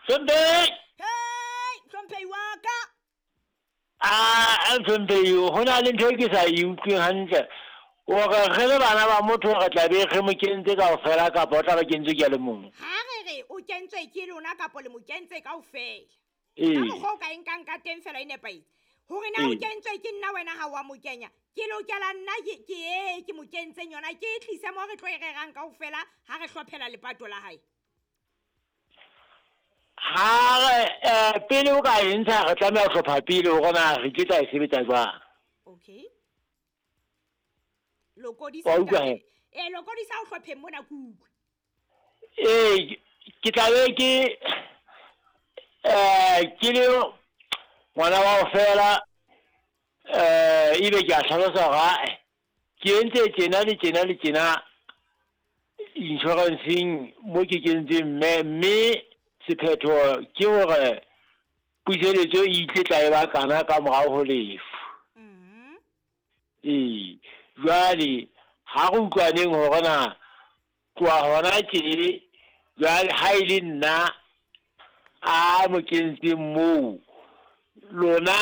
Hlomphehi! Hei, hlomphehi wa ka. A hlomphehi, ho na le ntho e ke sa e utlweng hantle. Hore re le bana ba motho re tla be re mo kentse kaofela kapa o tla ba kentswe ke a le mong? Ha re re o kentswe ke lona kapa le mo kentse kaofela. Ee. Ka mokgwa o ka e nkang ka teng fela e nepahetse. Hore na o Ee. kentswe ke nna wena ha wa mo kenya. Ke lokela nna ke e ke mo kentseng yona ke e tlise mo re tlo e rerang kaofela ha re hlophela lepato la hae. Ha re pele o ka e ntsha re tlameha ho hlopha pele hore na re ke tla e sebetsa jwang. Okay. Lokodisa Wa utlwa ntate. he? Eh, lokodisa o hlopheng mona ke utlwe. Ee, ke tla be ke ke le ngwana wa ho fela ebe ke a hlalosa hore ae ke entse tjena le tjena le tjena insurance-eng mo ke kentseng mme mme sephetho ke hore puseletso e itle tla e ba kana ka morao ho lefu. Ee, jwale ha re utlwaneng hore na tloha hona tje jwale ha e le nna a mo kentseng moo lona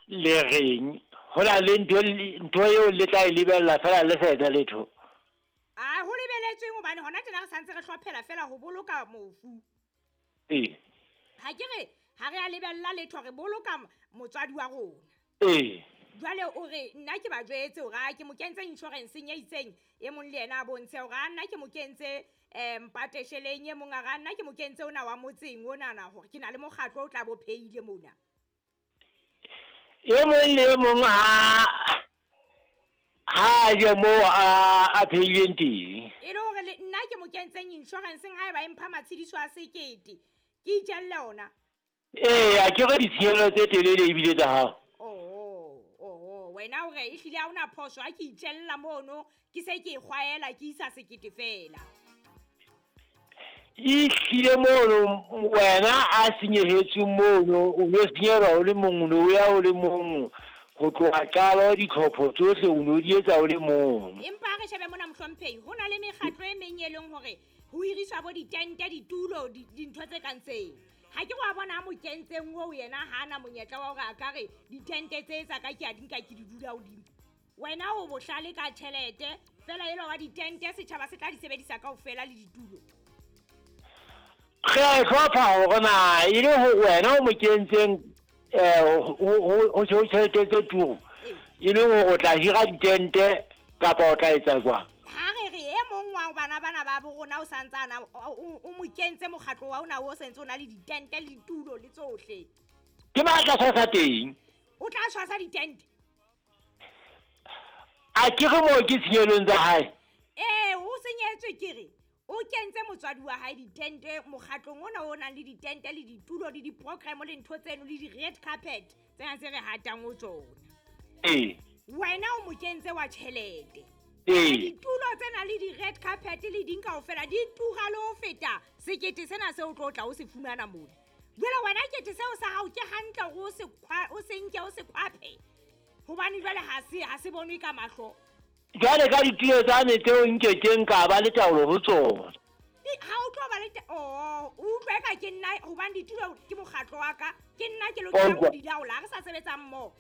le reng ho na le ntho eo le tla e lebella fela le sa etsa letho. A ho lebeletsweng hobane hona tjena re santse re hlophela fela ho boloka mofu. Ee. Ha ke re ha re a lebella letho re boloka motswadi wa rona. Ee. Jwale o re nna ke ba jwetse hore a ke mo kentse insurance-eng e itseng, e mong le yena a bontshe hore a nna ke mo kentse mpatesheleng, e mong a re a nna ke mo kentse ona wa motseng onana hore ke na le mokgatlo o tla bo pheile mona. E mong le e mong ha je moo a pheileng teng. E le hore le nna ke mo kentseng insurance-eng haeba e mpha matshediso a sekete, ke itjelle ona. Ee, a ke re ditshenyehelo tse telele ebile tsa hao. Oh, wena o re ehlile ha hona phoso ha ke itjella mono, ke se ke e kgwaela ke isa sekete fela. Ehlile mono wena a senyehetswe mono, o no senyehelwa o le mong, o no ya o le mong ho tloha qalo ditlhopho tsohle o no di etsa o le mong. Empa ha re shebe mona mohlomphehi, ho na le mekgatlo e meng e leng hore ho hiriswa bo ditente, ditulo, dintho tse kang tseo. Ha ke wa bona ha mo kentseng oo yena ha ana monyetla wa hore a ka re ditente tse tsa ka ke a di nka ke di dula hodimo. Wena o bohlale ka tjhelete, fela elwa wa ditente setjhaba se tla di sebedisa kaofela le ditulo. Re a e hlopha hore na e le hore wena o mo kentseng ho tjhelete tse turu, e leng hore o tla hira ditente kapa o tla etsa jwang? Ha re re e mong wa bana bana ba bo rona o santsana o mo kentse mokgatlo wa ona o sentse o na le ditente le ditulo le tsohle. Ke ba tla tshwasa teng. O tla tshwasa ditente? A ke re moo ke tshenyelong tsa hae? Ee, o senyetswe ke re o kentse motswadi wa hae ditente mokgatlong ona o nang le ditente le ditulo le di-program le ntho tseno le di-red carpet tsena tse re hatang ho tsona. Ee. Wena o mo kentse wa tjhelete. Ee. Ditulo tsena le di-red carpet le ding kaofela di tura le ho feta sekete sena seo o tlo tla o se fumana mona. Jwale wena kete seo sa hao ke hantle hore o se nke o se khwaphe, hobane jwale ha se bonwe ka mahlo. Jwale ka ditulo tsane tseo nkekeng ka ba le taolo ho tsona. Ha o tlo ba le oh, o utlwe ka ke nna, hobane ditulo ke mokgatlo wa ka, ke nna ke lokelang ho di laola, ha re sa sebetsa mmoho.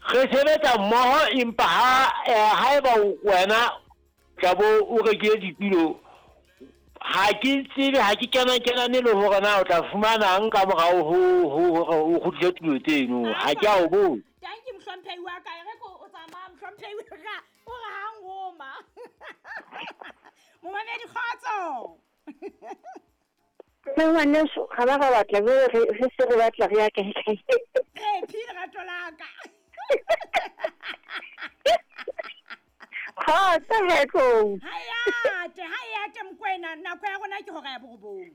Re sebetsa mmoho empa haeba wena tla bo o rekile ditulo, ha ke tsebe, ha ke kena-kenane le hore na o tla fumanang ka morao ho hore o kgutlise tulo tseno. Ha ke a o botsa. Thank you, mohlomphehi wa ka. E re ko o tsamaya, mohlomphehi wa ka. O re ha ngoma. Momamedi, kgotso. Mme ngwaneso, ga ba ga batla, jwale re se re batla re ya kae kae. Re phi lerato la ka. Kgotso, he tlou. Ha e ate, ha e ate Mokoena, nako ya rona ke hora ya borobong.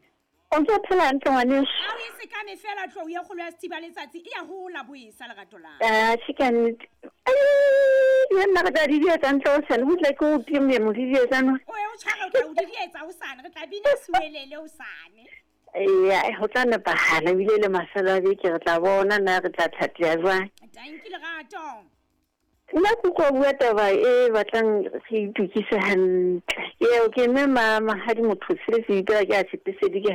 O ntse o phela hantle ngwaneso? Ha o e sekame fela tlou ya kgolo ya Sethiba Letsatsi e ya hola boesa lerato la. Ah, che ka nnete. Ai, le nna re tla di dietsa ntle hosane, ho tla ke o time mo di dietsa no. O ye o tshware, o tla o di dietsa hosane, re tla bina suelele hosane. Eya, ho tla nepahala ebile le mafelo a beke re tla bona na re tla thateha jwang. Thank you lerato. Nna ke utlwa bua taba e batlang re itokise hantle. Eo ke mme mahadi motho se se ipela ke a tshepesedi ke ha